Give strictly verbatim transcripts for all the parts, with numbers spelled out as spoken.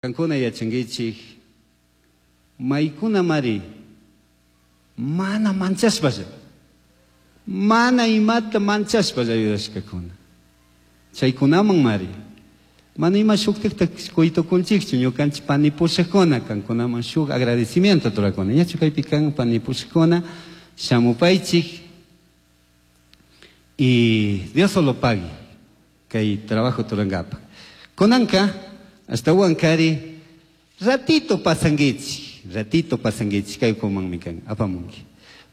Kankuna yachankichik maykunamari mana manchashpalla mana imata manchashpalla ayudashkakuna chaykunaman mari mana ima shuktikta kuytukunchikchu ñukanchik panipushakuna kankunaman shuk agradecimiento turakuna ñachu kaypi kan panipushakuna shamupaychik y Dios solo pague kay trabajo turankapak kunanka ashtawan kari ratito pasankichik ratito pasankichik kay ukumanmi kan apamunki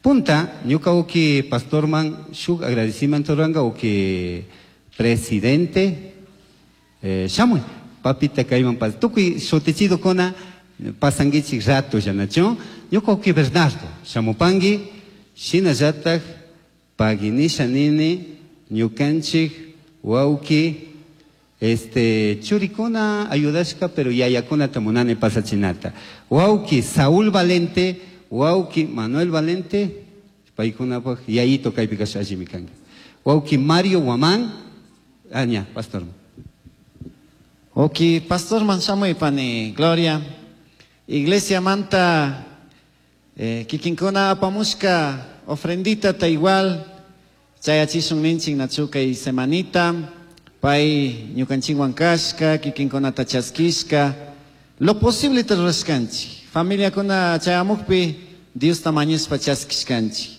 punta ñuka uki pastorman shuk agradecimiento ruranka uki presidente eh, shamuy papita kayman pas tukuy shutichidukuna pasankichik rato llanachu ñuka uki Bernardo shamupanki shinallatak paginisha nini ñukanchik wawki este churikuna ayudashka pero yayakunata munani pasachinata wawki Saúl Valente wawki Manuel Valente paykunapaq yayito kaypi kasha allimi kanka wawki Mario Guamán aña pastor. Oki, pastor man shamuy pani Gloria. Iglesia manta eh, kikinkuna apamushka ofrendita ta igual chayachishun ninchik nachu kay semanita pay ñukanchikwan kashka kikinkunata chaskishka lo posible ta rurashkanchik familiakuna chayamukpi Diosta mañashpa chaskishkanchik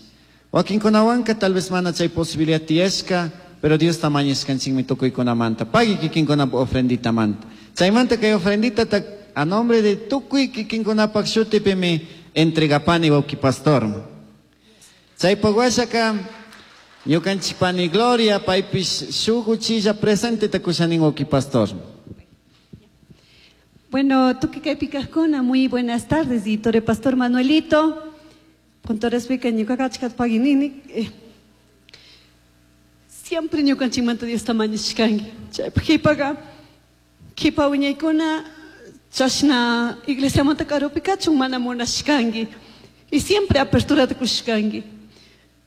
wakinkunawanka tal vez mana chay posibilidad tiyashka pero Diosta mañashkanchikmi tukuykunamanta pagui kikinkunapa ofrenditamanta chaymanta kay ofrendita ta a nombre de tukuy kikinkunapak shutipimi entregapani wawki pastor chaypak washaka ñukanchik pani Gloria paypish shuk uchilla presente ta kushanin wawki pastor. Bueno, tukuy kaypi kajkuna, muy buenas tardes, y Pastor Manuelito, con todo respeto, ñuka achkata paginini, eh, siempre ñukanchikmanta Diosta mañashkanki. Chaypak qhipaka, qhipa wiñaykuna chashna iglesiamanta karupi kachun mana munashkanki. Y siempre aperturata kushkanki.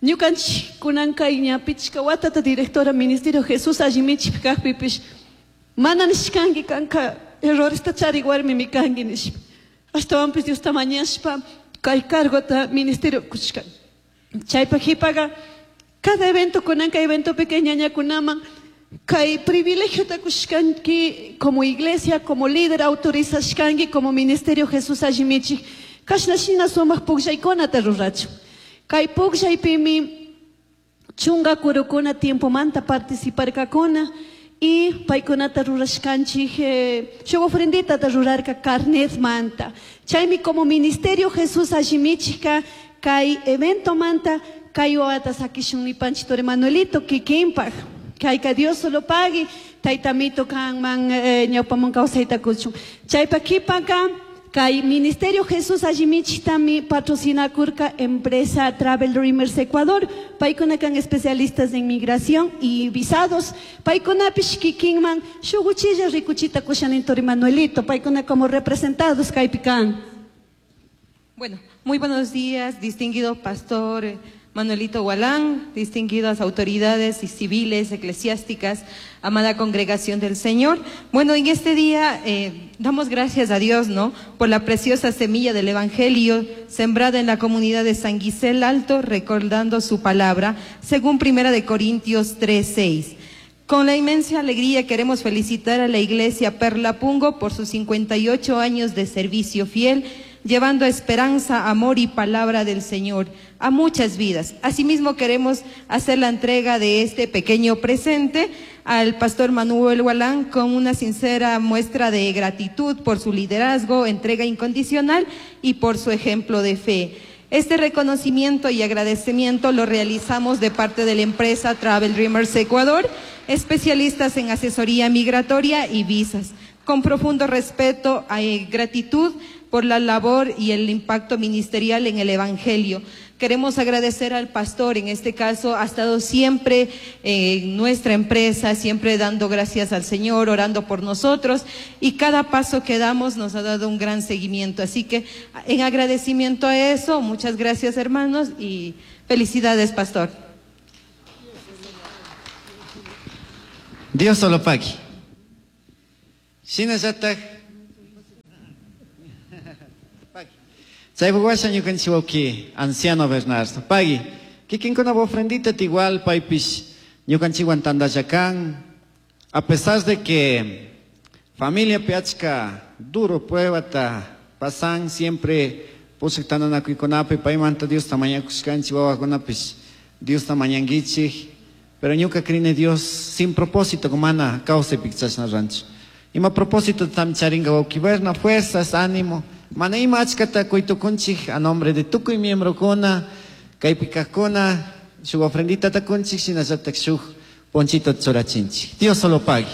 Ñukanchik kunanka ña pichka watata directora ministerio Jesús allimichik kajpipish mana nishkanki kanka erroresta charik warmimi kanki nishpa. Ashtawanpish Diosta mañashpa kay cargota ministerio kushkan. Chaypak qhipaka cada evento kunanka eventopika ñañakunaman kay privilegiota kushkanki como iglesia, como líder autorizashkanki como ministerio Jesús allimichik kashna shina sumak pukllaykunata rurachun. Kay pukllaypimi chunka kurukuna tiempomanta participarkakuna y paykunata rurashkanchik eh, shuk ofrenditata rurarka carnet manta. Chaymi como ministerio Jesús allimichika kay evento manta kay wawata sakishun nipanchik turi Manuelito kikinpak. Kayka Dios solo pague taytamito kanman eh, ñawpaman kawsayta kuchun. Chaypa qhipaka kay Ministerio Jesús allimichiktami patrocinakurka empresa Travel Dreamers Ecuador. Paykuna kan especialistas en migración y visados. Paykunapish kikinman shuk uchilla rikuchita kushanin turi Manuelito. Paykuna como representados kaypi kan. Bueno, muy buenos días, distinguido pastor Manuelito Gualán, distinguidas autoridades y civiles, eclesiásticas, amada congregación del Señor. Bueno, en este día eh, damos gracias a Dios, ¿no?, por la preciosa semilla del Evangelio sembrada en la comunidad de San Gisel Alto, recordando su palabra, según Primera de Corintios tres, seis. Con la inmensa alegría queremos felicitar a la Iglesia Perla Pungo por sus cincuenta y ocho años de servicio fiel, llevando esperanza, amor y palabra del Señor a muchas vidas. Asimismo, queremos hacer la entrega de este pequeño presente al pastor Manuel Gualán con una sincera muestra de gratitud por su liderazgo, entrega incondicional y por su ejemplo de fe. Este reconocimiento y agradecimiento lo realizamos de parte de la empresa Travel Dreamers Ecuador, especialistas en asesoría migratoria y visas. Con profundo respeto y gratitud por la labor y el impacto ministerial en el Evangelio. Queremos agradecer al pastor, en este caso ha estado siempre en nuestra empresa, siempre dando gracias al Señor, orando por nosotros, y cada paso que damos nos ha dado un gran seguimiento. Así que en agradecimiento a eso, muchas gracias hermanos y felicidades, pastor. Dios solo pague. Shinallatak Chaypaq washa ñukanchik wawki anciano Bernardo. Pagui, kikinkuna ofrendita igual paypish ñukanchikwan tantalla kan. A pesar de que familia achka duro pruebata pasan siempre pusaq tantanakuykunapi paymanta Diosta mañakushkanchik wawakunapish Diosta mañankichik, pero ñuka crini Dios sin propósito mana kawsaypi chashna ranchu. Ima propósito tam charinga wawki Berna, fuerzas, ánimo. Mana ima achkata kuytukunchik a nombre de tukuy miembrokuna, kaypi kajkuna, shuk ofrendita takunchik, shinallatak shuk ponchito churachinchik. Dios solo pague.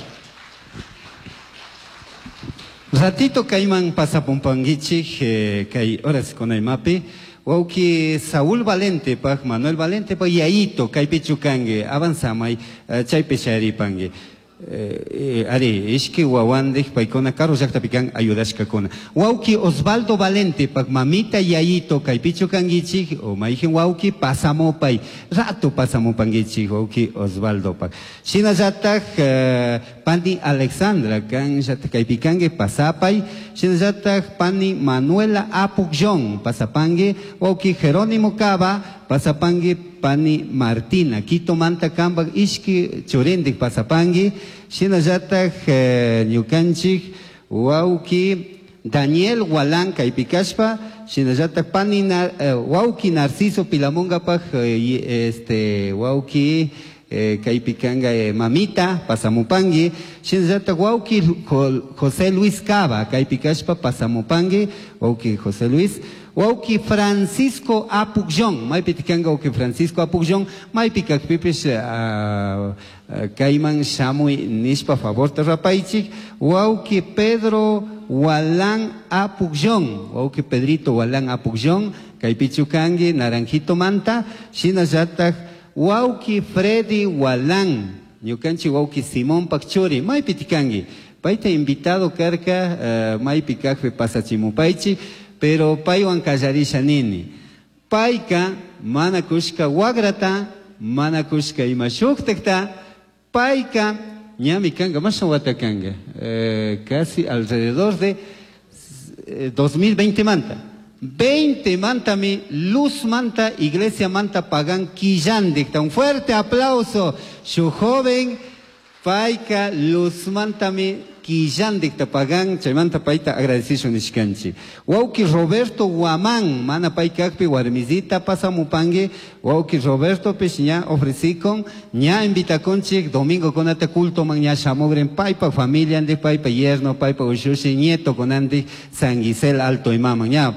Ratito kayman pasapumpankichik, eh, kay horas kunaymapi. Wawki Saúl Valente paj, Manuel Valente paj, Yaito, kaypi chukanki, avanzamay, eh, chaypi sharipanki. Eh, eh, ari, ishki wawandik paykuna karu llaqtapi kan ayudashkakuna. Wawki Osvaldo Valente paj mamita Yayito kaypi chukankichik, o mayqin wawki pasamupay, rato pasamupankichik wawki Osvaldo paj. Shinallataj, eh, pani Alexandra kan llataj kaypi kanki pasapay, shinallataj pani Manuela Apukllón pasapanki, wawki Jerónimo Cava pasapanki, pani Martina Quito manta kambak ishki churindik pasapanki, shinallataj, eh, ñukanchik wawki Daniel Gualán kaypi kashpa, shinallataj pani na, eh, wawki Narciso Pilamungapaj, eh, este, wawki, eh, kaypi kanka, eh, mamita pasamupanki, shinallataj wawki Jo-, José Luis Cava kaypi kashpa pasamupanki, wawki José Luis, wawki Francisco Apukllón, maypi kanka wawki Francisco Apukllón, maypi kajpipish, eh, eh, kayman shamuy nishpa favorta rapaychik, wawki Pedro Gualán Apukllón, wawki Pedrito Gualán Apukllón, kaypichu kanki Naranjito manta, shinallataj wawki Freddy Gualán, ñukanchik wawki Simón Pakchuri, maypi tikanki, payta invitado karka, eh, maypi kajpi pasachimupaychik, pero paywan kallarisha nini. Payka mana kushka wagrata, mana kushka ima shuktakta, payka ñami kanka, masha wata kanka, eh, casi alrededor de, eh, dos mil veinte manta. veinte mantami, luz manta, iglesia manta pagan quillandikta. Un fuerte aplauso, su joven payka luz mantami quillandikta pagan, chaymanta payta agradecido nishkanchi. Wawki Roberto Guamán, mana paykakpi warmizita pasamupangi, wawki Roberto pish ña ofrecikon, ña invitakonchik, domingo konata culto man ña shamogren paypa familia andi, paypa yerno, paypa ushushi, nieto konandi, San Gisel Alto imama, ña,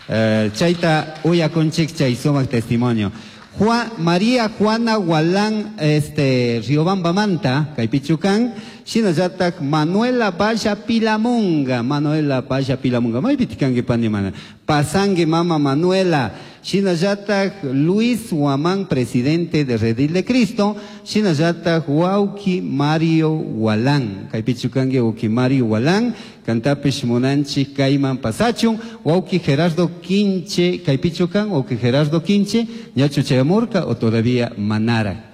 eh, chayta uyakonchik chay sumak testimonio. Juan, María Juana Gualán, este, Riobamba Manta, Kaypichukan, shinallataj Manuela Valla Pilamunga, Manuela Valla Pilamunga, maypi tikanki pani mana, pasangi mama Manuela, shinallataj Luis Guamán, presidente de Redil de Cristo, shinallataj Wauki Mario Gualán, Kaypichukanki Wauki Mario Gualán, kantapish munanchik kayman pasachun, Wauki Gerardo Quinche, Kaypichukan, Wauki Gerardo Quinche, ñachu chayamurka o todavía manara.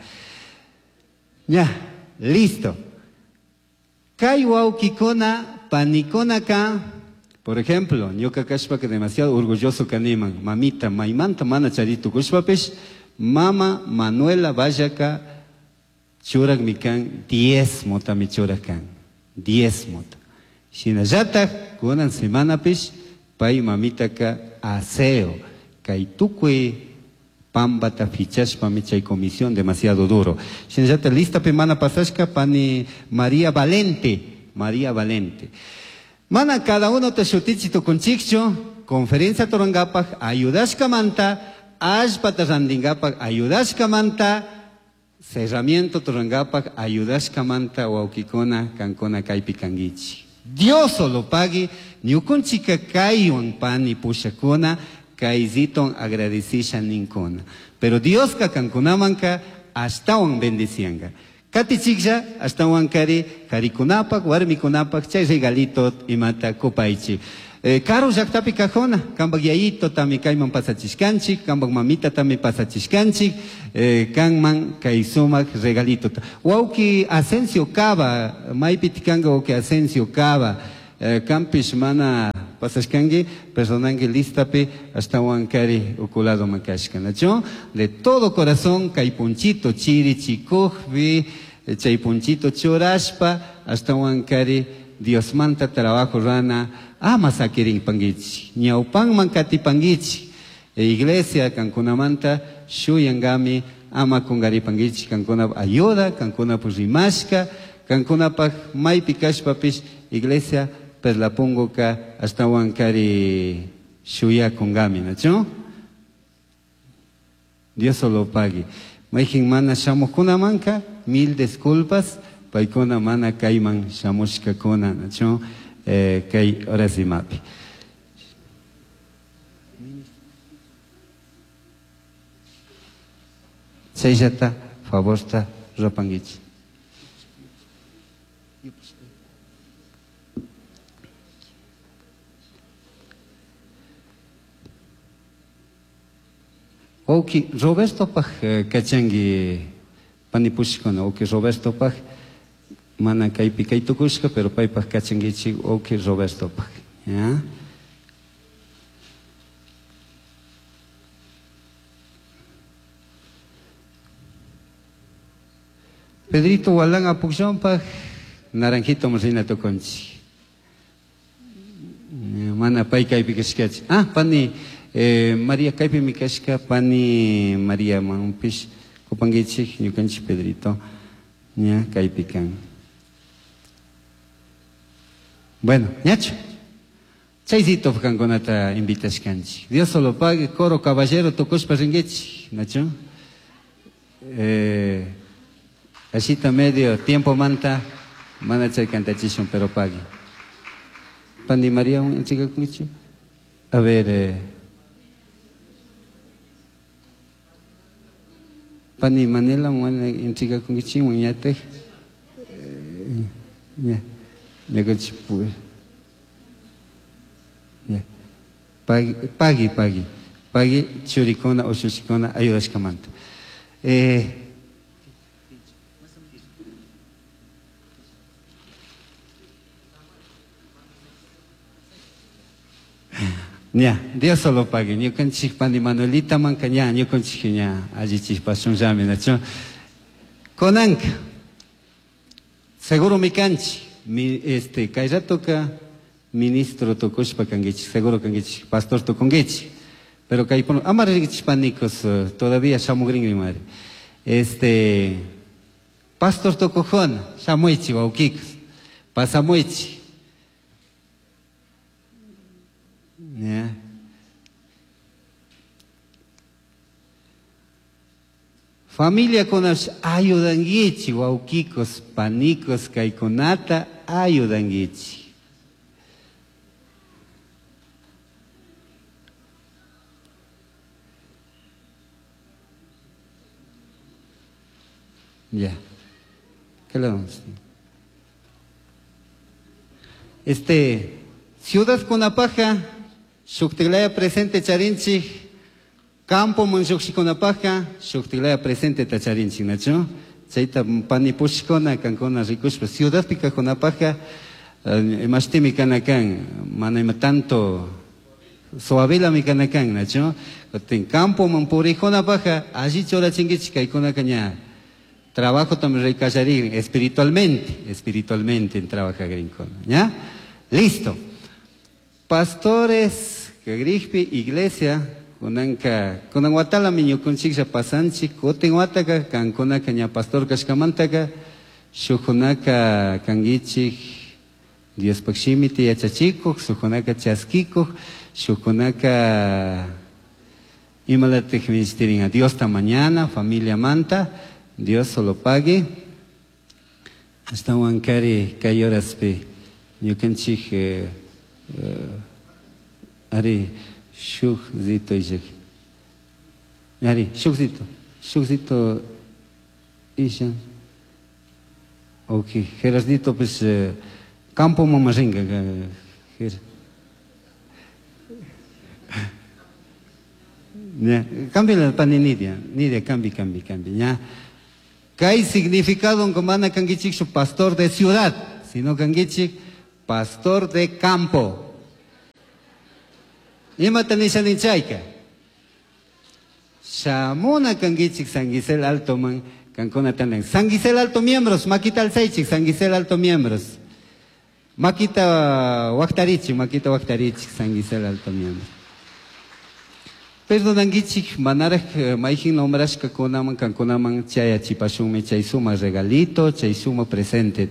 Ya, listo. Kay wawkikuna, panikunaka, por ejemplo, ñuka kashpa que demasiado orgulloso kaniman, mamita, maymanta mana charito kushpapish, mama Manuela Vallaka churak mikan diezmo tami churakan, diezmo. Shinallataj kunan semanapish, pay mamitaka aseo, kay tukuy pambata fichashpa mi chay comisión demasiado duro. Shinallataj lista pe mana pasashka pani María Valente, María Valente. Mana cada uno te shutichi tukunchikchu, conferencia torangapaj ayudashka manta, allpata randingapaj ayudashka manta, cerramiento torangapaj ayudashka manta wawkikuna kankuna kaypi kankichik. Dios solo pague, ñukunchika kaywan pani pushakuna, kayziton agradecisha ninkuna. Pero Dios ka kankunamanka ashtawan bendicianga. Katichiklla ashtawan kari karikunapak, warmikunapak, chay regalito imata kupaychi. Eh, karu llaqtapi kajona, kambak yayito tami kayman pasachishkanchik, kambak mamita tami pasachishkanchik, eh, kanman kay sumak regalito. Wawki Asensio Cava, maypi tikanga wawki Asensio Cava, eh, kampish mana Pasashkangi, perdonangi listapi ashtawan kari ukulado makashka, nacho? De todo corazón kay punchito chiri chikujpi, chay punchito churashpa ashtawan kari Dios manta trabajo rana ama sakirin pangichi, ñawpanman katipangichi. E iglesia kankunamanta shuyangami ama kungaripangichi, kankuna ayuda, kankuna rimashka, kankunapaj maypi kashpapish iglesia perlapunguka ashtawan kari shuyakungami, nacho? Dios solo pague. Mayjin mana shamukunamanka mil disculpas, paykuna mana kayman shamushkakuna, nacho? Eh, kay orasimapi. Chayllata favorta rupankichik. Oki Roberto paj kachangi panipushkuna, oki Roberto paj mana kaypi kaytukushka, pero paypaj kachangichik oki Roberto paj, ya? Pedrito Walán apukshanpaj naranjito mrina tukunchik. Mana pay kaypi kashkachi. Ah, pani eh, María kaypi mi kashka, pani María manpish kupangichik ñukanchik Pedrito ña kaypi kan. Bueno, ñacho. Chaycito kankunata invitashkanchik. Dios solo pague, coro caballero tukushpa rinkichik, nacho. Eh, Asita medio tiempo manta, mana chay cantachishun, pero pague. Pani María, un chica con A ver, eh, Pani Manela, un chica con un ñate. Ya, ya. Pagui, pagui, pagui. Pagui, churicona o chuchicona, ayudashkamanta. Eh, Ña, Dios solo pague. Ñukanchik pani Manuelita manka ña, ñukanchik ña, allichik pashunllami, nacho. Konanka, seguro mi kanchi, mi, este, kay ratoka ministro tukushpa kankichik, seguro kankichik, pastor tukunkichik. Pero kay pon, ama rikichik panikos, todavía shamugrinmi madre. Este, pastor tukujona, shamuichi wawkikos, pasamuichi. Yeah. Familia kunash ayudangichi, wawkikos, panikos, kaykunata ayudangichi. Ya. ¿Qué le vamos a decir? Este, Ciudad Kunapaja, Shuktilaya presente charinchi, campo manshukshikunapaja, Shuktilaya presente tacharinchi, nacho? Chayta panipushkuna, kankuna rikushpa, ciudad pikakunapaja, imashtimi kanakan, mana ima tanto suavila mi kanakan, nacho? Kutin campo manpurijunapaja, allí chorachinkichi kaykunaka ña. Trabajo también rikallaririn, espiritualmente, espiritualmente en trabaja grinkuna, ¿ya? Listo. Pastores, que iglesia, kunanka, kunan watala miñukunchiklla pasanchik, kutin wataka, kankunaka ña pastor kashkamantaka, shukunaka kangichik, Diospaq shimita yachachikuq, shukunaka chaskikuq, shukunaka imalatik ministerin a Diosta mañana, familia manta, Dios solo pague. Hasta wankari kay horaspi, ñukanchik eh, Uh, ari shuk zito ishak ari shuk zito shuk zito isha okay Gerardito pues uh, campo mamaringa ger ya cambia la pani Nidia Nidia cambi cambi cambi ya kay significado mana kangichik su pastor de ciudad sino kangichik pastor de campo. Imata nishanin chayka. Shamuna kankichik San Gisel Altoman kankuna tandan. San Gisel Alto miembros, makita alzaychik, San Gisel Alto miembros. Makita waktarichik, makita waktarichik, San Gisel Alto miembros. Perdonankichik, manaraj mayjin nombrashka kunaman kankunaman chayachipashunmi chay suma regalito, chay suma presente.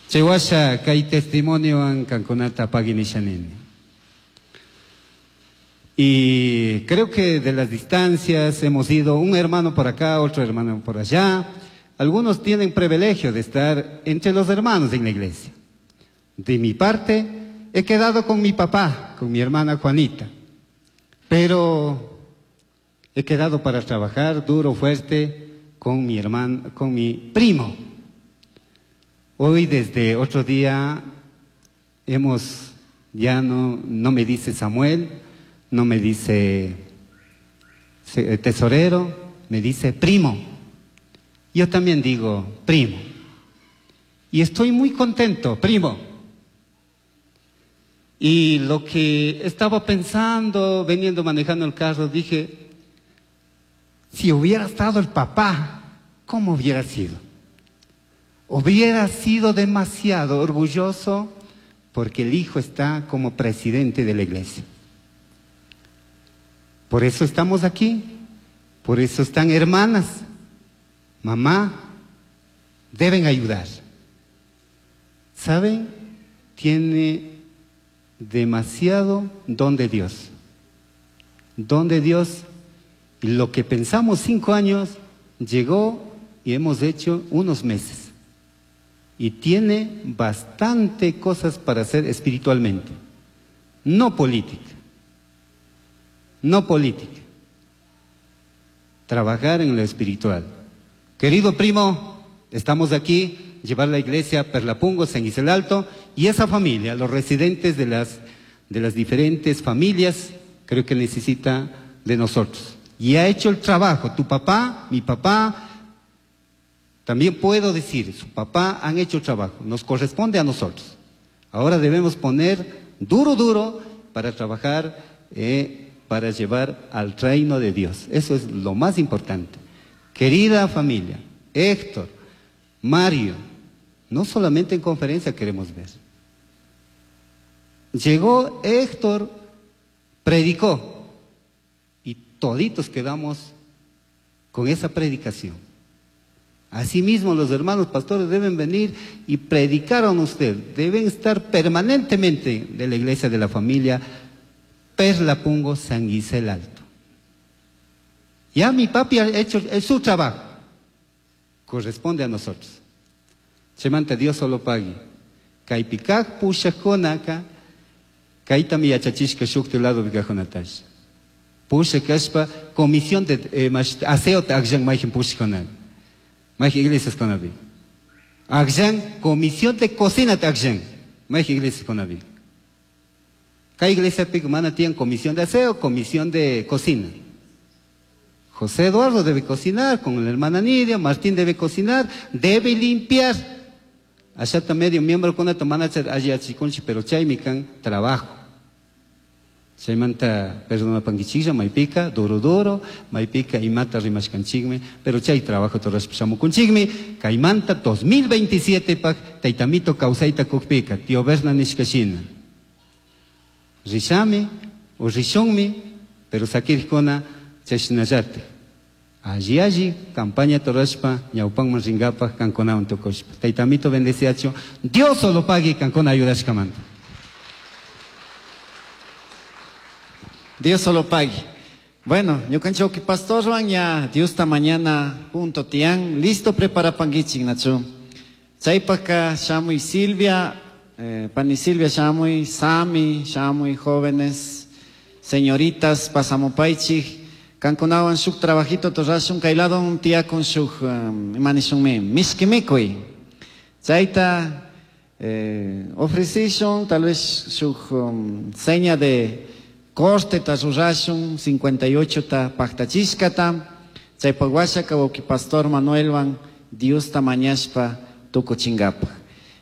Chay washa kay testimoniowan kankunata paginishanini. Y creo que de las distancias hemos ido un hermano por acá, otro hermano por allá. Algunos tienen privilegio de estar entre los hermanos en la iglesia. De mi parte, he quedado con mi papá, con mi hermana Juanita. Pero he quedado para trabajar duro, fuerte, con mi hermano, con mi primo. Hoy, desde otro día, hemos, ya no, no me dice Samuel, no me dice tesorero, me dice primo. Yo también digo primo. Y estoy muy contento, primo. Y lo que estaba pensando, veniendo manejando el carro, dije, si hubiera estado el papá, ¿cómo hubiera sido? Hubiera sido demasiado orgulloso porque el hijo está como presidente de la iglesia. Por eso estamos aquí, por eso están hermanas, mamá, deben ayudar. ¿Saben? Tiene demasiado don de Dios. Don de Dios, y lo que pensamos cinco años, llegó y hemos hecho unos meses. Y tiene bastante cosas para hacer espiritualmente, no política. No política. Trabajar en lo espiritual. Querido primo, estamos aquí, llevar la iglesia a Perlapungo, San Gisel Alto, y esa familia, los residentes de las, de las diferentes familias, creo que necesita de nosotros. Y ha hecho el trabajo, tu papá, mi papá, también puedo decir, su papá han hecho el trabajo, nos corresponde a nosotros. Ahora debemos poner duro, duro, para trabajar, eh, para llevar al reino de Dios. Eso es lo más importante. Querida familia, Héctor, Mario, no solamente en conferencia queremos ver. Llegó Héctor, predicó, y toditos quedamos con esa predicación. Asimismo, los hermanos pastores deben venir y predicar a usted. Deben estar permanentemente de la iglesia de la familia Perlapungo, San Gisel Alto. Ya mi papi ha hecho su trabajo. Corresponde a nosotros. Chemanta Dios solo pague. Kaipikak pushakonaka, kaitami yachachishka shukti lado vikajonatash. Pusha kashpa, comisión de eh, aseo akjan majin pushakonak. Majin iglesias konabi. Akjan, comisión de cocina akjan. Majin iglesias konabi. Cada iglesia mana tiene comisión de aseo, comisión de cocina. José Eduardo debe cocinar con la hermana Nidia, Martín debe cocinar, debe limpiar. Allá está medio miembro con la tomana allá chiconchi, pero chaymican trabajo. Chaymanta perdona panquichilla, maypica, duro duro, maypica y mata rimashkanchigme, pero chay trabajo torras shamukunchigme, caimanta dos mil veintisiete pak taitamito causaita kukpica, tío Berna nishkashina. Rishami o rishonmi, pero sakirkona chashnallate. Allí allí, campaña torashpa, ñaupanman ringapa, kankonawan tukushpa. Taitamito bendeciacho, Dios solo pague kankona ayudashkamanta. Dios solo pague. Bueno, ñukanchik que pastor Juan ya Dios esta mañana punto tian, listo prepara pangichik nacho. Chaypaka shamuy Silvia, eh, pani Silvia shamuy, Sami shamuy, jóvenes, señoritas, pasamopaichik. Kankunawan shuk trabajito torrashun kayladon tiyakun shuk um, imanishunmi mishkimikuy. Chayta eh, ofrecishun tal vez shuk um, seña de corte ta rurashun cincuenta y ocho ta paktachishkata. Chaypaq washaka wawqi pastor Manuelwan Diosta mañashpa tukuchinkapaq.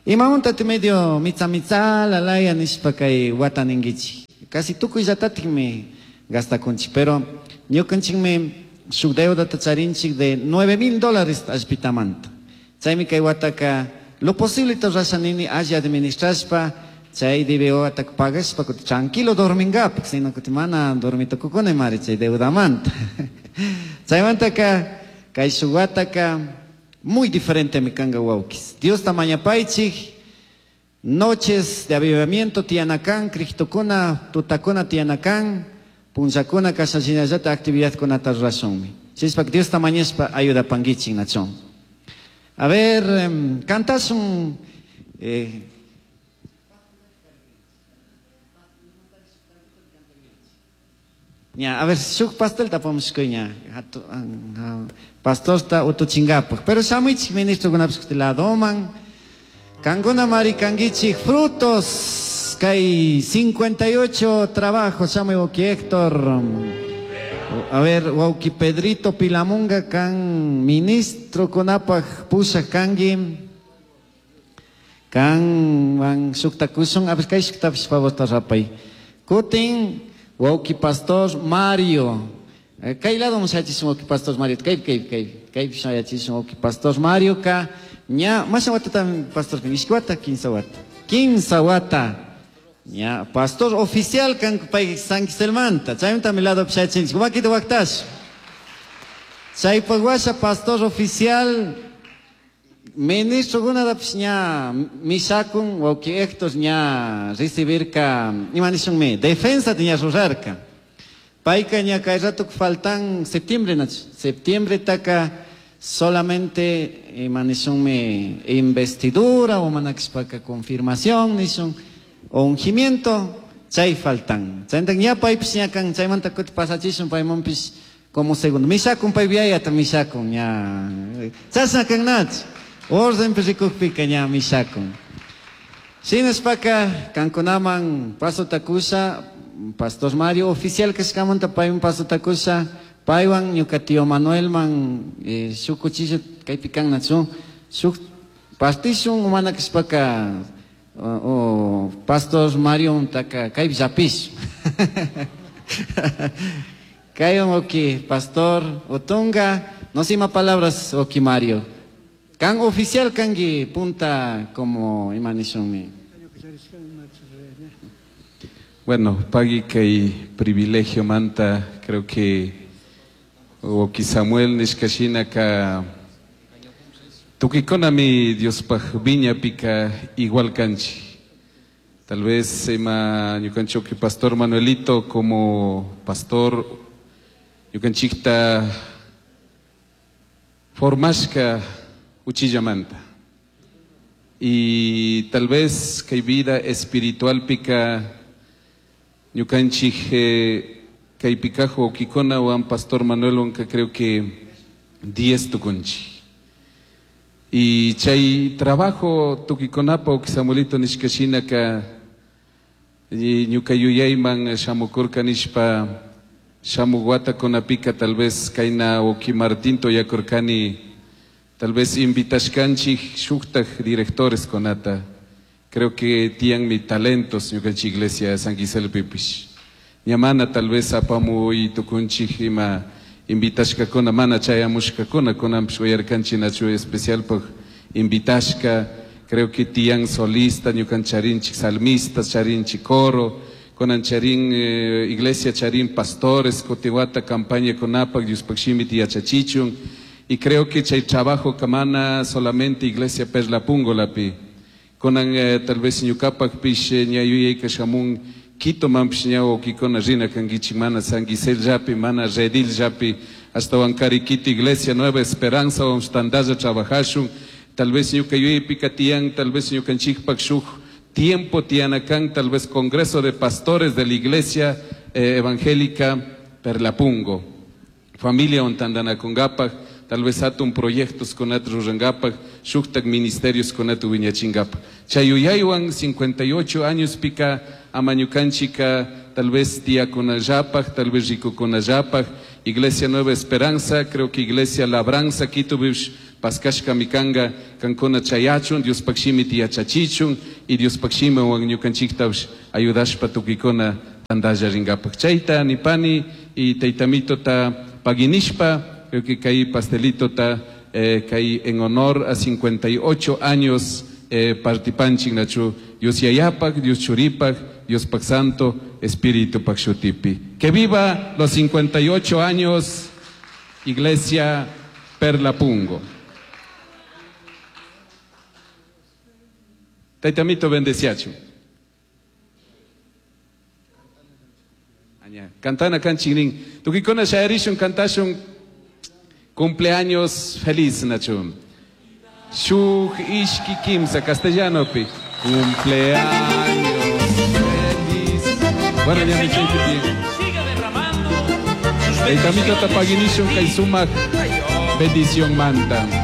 Imamunta ti medio mitza mitza lalaya nishpa kay wata ninkichik. Casi tukuyllatatikmi gastakunchik, pero ñukanchikmi shuk deudata charinchik de nueve mil dólares allpitamanta. Chaymi kay wataka lo posible rurashanini alli administrashpa chay D B O ataka pagashpa kuti tranquilo dormingapak, sino kuti mana dormitukukuna mari chay deudamanta. Chaymantaka kay shuk wataka muy diferente mi kanga wawkis. Dios tamañapaychik, noches de avivamiento tianakan, Cristokuna, tutakuna tianakan, punchakuna kashallinallata actividad kunata rurashunmi. Chispak Dios tamañashpa ayuda panguichin nachón. A ver, eh, cantas un... Eh, ya, a ver, shuk pastel tapamos kuña. Pastor ta utuchingapaj. Pero shamuich ministro kunapis la doman. Kanguna mari kangichi frutos. Kay cincuenta y ocho trabajos. Shamuy woki Héctor. A ver, wauki Pedrito Pilamunga kan ministro kunapaj pusha kangi. Kan van shuktakushun. A ver, kay shuktapis favor rapay. Kutin wauki pastor Mario. Kay lado mushachisun wauki pastor Mario. Kay kay kay kay mushachisun wauki pastor Mario ka ña masha wata tam pastor kan ishki wata kinsa wata. Kinsa wata. Ña pastor oficial kan pay San Giselmanta. Chaymanta mi lado pshachinchik. Wakita waktash. Chaypaq pastor oficial ministro gunadapish ña mishakun wauki Héctor ña recibirka ima nishunmi defensa ña rurarka. Payka ña kay rato faltan septiembre nach septiembre taka solamente ima nishunmi investidura o manakishpaka confirmación nishun o ungimiento chay faltan. Chayta ña paypish ña kan chaymanta kuti pasachishun paymanpish como segundo mishakun pay viayata mishakun ña chashna kan nach orden rikukpika ña mishakun. Shinashpaka kankunaman paso takusha Pastor Mario oficial kashkamanta payman paso takusha paywan ñuka tío Manuel man eh, shuk cuchillo kaypi kan nachu shuk pastishun umana kashpaka o, o Pastor Mario taka kaypi llapish. Kaywan oki Pastor Otunga no sé más palabras oki Mario kan oficial kangi punta como ima nishunmi. Bueno, pagui kay privilegio manta, creo que oki Samuel nishkashina ka tukikonami Diospaj viña pika igual kanchi. Tal vez ima ñukanchi oki Pastor Manuelito como pastor ñukanchikta formashka uchillamanta. Y tal vez kay vida espiritual pika ñukanchik eh, kay pikajo okikona wan Pastor Manuel wanka creo que diez tukunchi. Y chay trabajo tukikonapa oki Samuelito nishkashina ka ñuka yuyayman shamukurka nishpa shamuguata konapika tal vez kayna oki Martín toyakurkani tal vez invitashkanchik shuktaj directores konata. Creo que tian mi talentos ñukanchik iglesia San Gisel pipish. Ñamana tal vez apamu y tukunchik ima invitashkakuna mana chayamushkakuna kunanpish uyarkanchik nachu especial paj invitashka. Creo que tian solista ñukan charinchik salmista charinchik coro kunan charin eh, iglesia charin pastores kutiwata campaña kunapak Diospaj shimita yachachichun. Y creo que chay trabajo kamana solamente iglesia Perlapungo lapi. Kunan eh, tal vez ñukapak pish ña yuyayka shamun Quito manpish ña okikona rina kankichik mana San Gisel llapi mana Redil llapi hasta Huancari Quito Iglesia Nueva Esperanza tandalla trabajashun. Tal vez ñuka yuyaypika tiyan, tal vez ñukanchikpak shuk tiempo tianakan, tal vez Congreso de Pastores de la Iglesia eh, Evangélica Perlapungo. Familia ontandanakungapak, tal vez atun proyectos con rurangapak, shuktak ministerios con atu wiñachingapak. Chayuyaywan cincuenta y ocho años pika amañukanchika, tal vez tiakunallapak, tal vez rikukunallapak, Iglesia Nueva Esperanza, creo que Iglesia Labranza, Quito bish paskashka mikanga, kankuna chayachun, Dios pakshimi tiachachichun, y Dios pakshimi wan ñukanchiktash ayudashpa tukikuna Tandalla ringapak chayta nipani y taytamitota paginishpa, creo que kay pastelitota eh, kay en honor a cincuenta y ocho años eh, partipanchik nachu Dios Yayapak, Dios Churipak, Dios Pak Santo, Espíritu Pak Shutipi. Que viva los cincuenta y ocho años Iglesia Perla Pungo. Taytamito bendeciachu. Cantana kanchik Tukikuna shayarishun kantashun cumpleaños feliz nachu. Shuk ishki kimsa castellano pi. Cumpleaños feliz. Bueno, ya me bien. Taytamito tapaginishun kay sumak bendición manta.